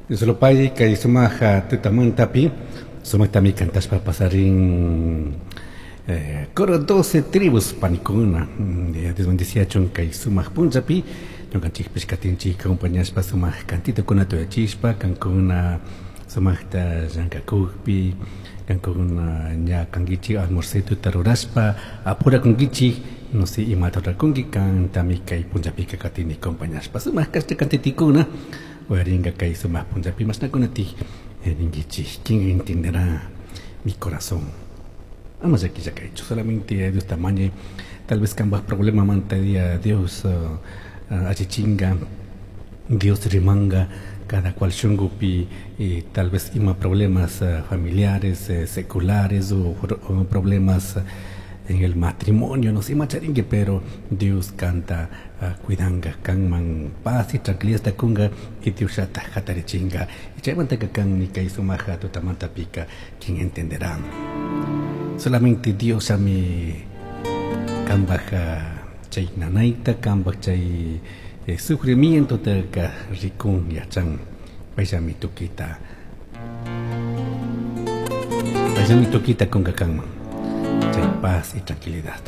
Diosllapay kay sumaq tutamantapi sumaqtami kantashpa pasarin coro 12 tribus panikuna. Dios bendiciachun kay sumaq punllapi ñukanchikpish katinchik acompañashpa sumaq cantitokunata uyachishpa kankuna sumaqta llankakukpi kankuna ña kankichik almuercituta rurashpa apurakunkichik, no sé imata rurakunki, kantami kay punllapika katini acompañashpa sumaq kashta cantitikuna uyarinka kay sumaq punllapi mashnakunatik ninkichik. ¿Quién entenderá mi corazón? Ama llaquilla kaychu, solamente Diosta mañay, tal vez kanpaj problemamanta día Dios allichinga, Dios rimanga cada cual shungupi, y tal vez ima problemas familiares, seculares o problemas en el matrimonio, no sé, ima charinki, pero Dios kanta cuidanga, kanman paz y tranquilidad kunga y Dios llata jatarichinga. Y chaymantaka kanmi kay sumaja tutamantapika, ¿quién entenderá? Solamente Dios ami kanpaj chay nanayta, kanpaj chay sufrimiento taka rikun yachan, payllami tukita, payllami tukita kunga kanman chay paz y tranquilidad.